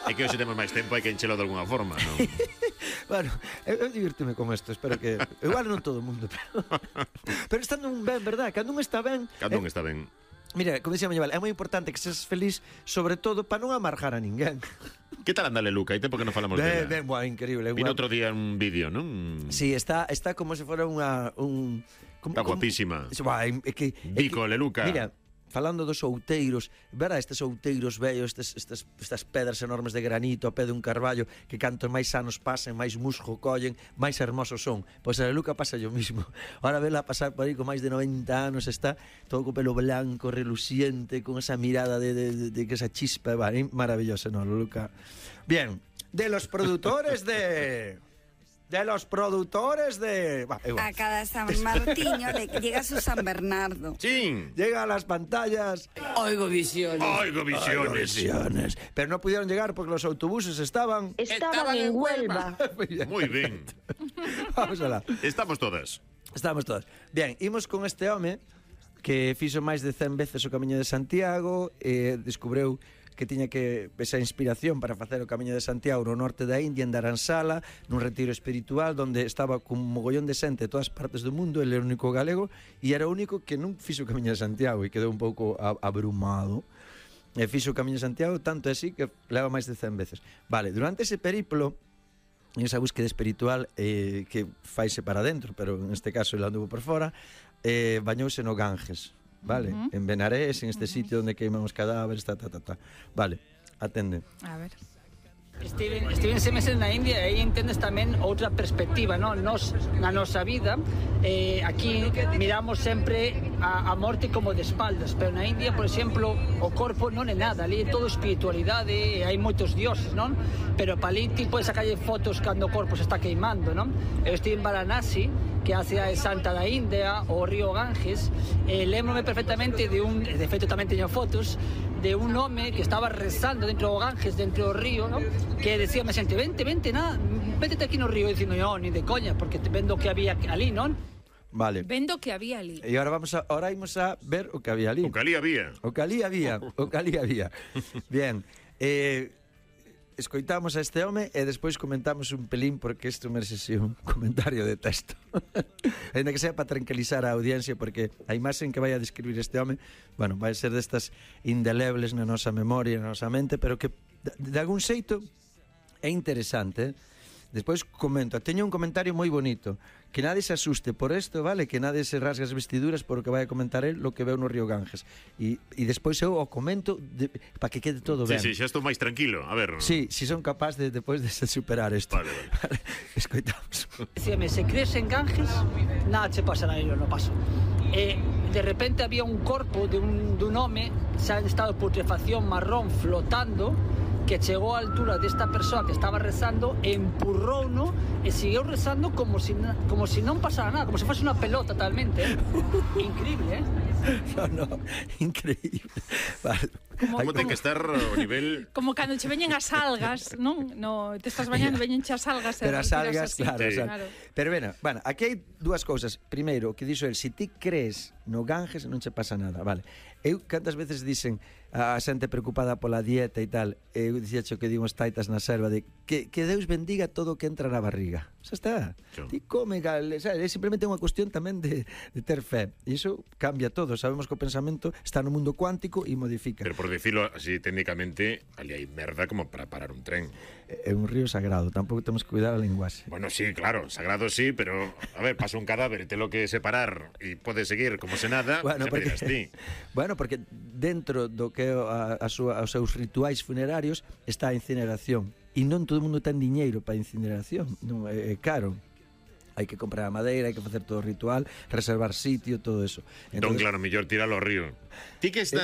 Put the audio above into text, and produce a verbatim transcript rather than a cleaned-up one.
É que hoxe temos máis tempo, hai que enchelo de alguna forma, non? Bueno, eu, eu divirtime con isto, espero que... Igual non todo o mundo, pero... Pero estando un ben, verdad? Cando un está ben... Cando eh, un está ben. Mira, como dixía Mañaval, é moi importante que seas feliz, sobre todo para non amargar a ninguén. Que tal anda Leluca? Hai tempo que non falamos Ben, dela. ben, boa, increíble. Vino Boa. outro día un vídeo, non? Sí, está, está como se fora unha... Un, como, Está como, guapísima. Boa, é que... é Vico, que- Leluca. Mira, falando dos outeiros, verdad, estes outeiros vellos, estes, estes, estas pedras enormes de granito a pé dun carballo, que cantos máis anos pasen, máis musgo collen, máis hermosos son. Pois a Leluca pasa yo mismo. Ahora vela pasar por aí con máis de noventa anos, está todo co pelo blanco, reluciente, con esa mirada de, de, de, de que esa chispa, va, é maravillosa, no, Leluca. Bien, de los productores de... De los productores de... Va, igual. A cada San Martiño le llega su San Bernardo. Sí. Llega a las pantallas... Oigo visiones. Oigo visiones. Visiones. Pero no pudieron llegar porque los autobuses estaban... Estaban en Huelva. Muy bien. Moi ben. Vamos alá. Estamos todas. Estamos todos. Bien, imos con este home que fixo máis de cen veces o Camiño de Santiago e descubreu que tiña que esa inspiración para facer o Camiño de Santiago no norte da India, en Dharamsala, nun retiro espiritual donde estaba cun mogollón de xente de todas partes do mundo, ele era o único galego e era o único que non fixo o Camiño de Santiago e quedou un pouco a- abrumado. E fixo o Camiño de Santiago tanto así que leva máis de cen veces. Vale, durante ese periplo, en esa búsqueda espiritual eh, que faise para dentro, pero en este caso ele anduvo por fora, eh, bañouse no Ganges, vale? Uh -huh. En Benarés, en este uh -huh. sitio onde queiman os cadáveres, ta, ta, ta, ta. Vale, atende. A ver. Estive, estive seis meses na India e aí entendes tamén outra perspectiva, non? Nos, na nosa vida, eh, aquí miramos sempre a, a morte como de espaldas, pero na India, por exemplo, o corpo non é nada, ali é todo espiritualidade, e hai moitos dioses, non? Pero para ali ti podes sacarlle fotos cando o corpo se está queimando, non? Eu estive en Varanasi, que é a cidade santa da India, o río Ganges, e lembro-me perfectamente de un, de feito tamén teño fotos, de un home que estaba rezando dentro do Ganges, dentro do río, ¿no? Que decía a xente, vente, vente, nada, vétete aquí no río, dicindo, no, ni de coña, porque te vendo que había ali, non? Vale. Vendo que había ali. E agora vamos a ahora imos a ver o que había ali. O que ali había. O que ali había, o que ali había. Bien. Eh escoitamos a este home e despois comentamos un pelín porque isto merece si un comentario de texto. Ainda que sea para tranquilizar a audiencia porque a imaxe que vai a describir este home, bueno, vai ser destas indelebles na nosa memoria, na nosa mente, pero que de, de algún xeito é interesante. Despois comento, teño un comentario moi bonito. Que nadie se asuste por isto, vale? Que nadie se rasgue as vestiduras por o que vai a comentar el lo que veu no río Ganges. E, e despois eu o comento de, para que quede todo ben. Sí, sí, xa estou máis tranquilo. A ver. Sí, si son capaz de depois de superar isto. Vale, vale. Escoitamos. Decíame, se crees en Ganges, nada che pasará, eu non paso. E de repente había un corpo de un, dun home xa en estado de putrefacción marrón flotando que chegou á altura desta persoa que estaba rezando, empurrouno e seguiu rezando como si, como si non pasara nada, como se fose unha pelota totalmente, eh? Increíble, eh? No, no, increíble. Vale. Como, Como ten como, que estar o nivel... como cando che veñen as algas, non? No, te estás bañando, veñen as algas. Pero as algas, así. claro, Sí. o sea, Claro. Pero bueno, bueno, aquí hai dúas cousas. Primeiro, que dixo el, si ti crees no Ganges non che pasa nada, vale. Eu cantas veces dicen a xente preocupada pola dieta e tal, eu dixacho que dimos taitas na selva de que, que Deus bendiga todo o que entra na barriga. Xa está. Claro. Ti come, gal, sabe, é simplemente unha cuestión tamén de, de ter fe. E iso cambia todo. Sabemos que o pensamento está no mundo cuántico e modifica. Pero por decirlo así técnicamente, ali hai merda como para parar un tren. É un río sagrado, tampouco temos que cuidar a linguaxe. Bueno, sí, claro, sagrado sí, pero a ver, pasa un cadáver e te lo que separar e pode seguir como se nada, Bueno, xa me dirás ti. bueno, porque dentro do que é a, a súa, os seus rituais funerarios está a incineración. E non todo o mundo ten diñeiro para a incineración, non é, é caro. Hai que comprar a madeira, hai que facer todo o ritual, reservar sitio, todo eso. Entón, claro, mellor tiralo ao río. Ti que estás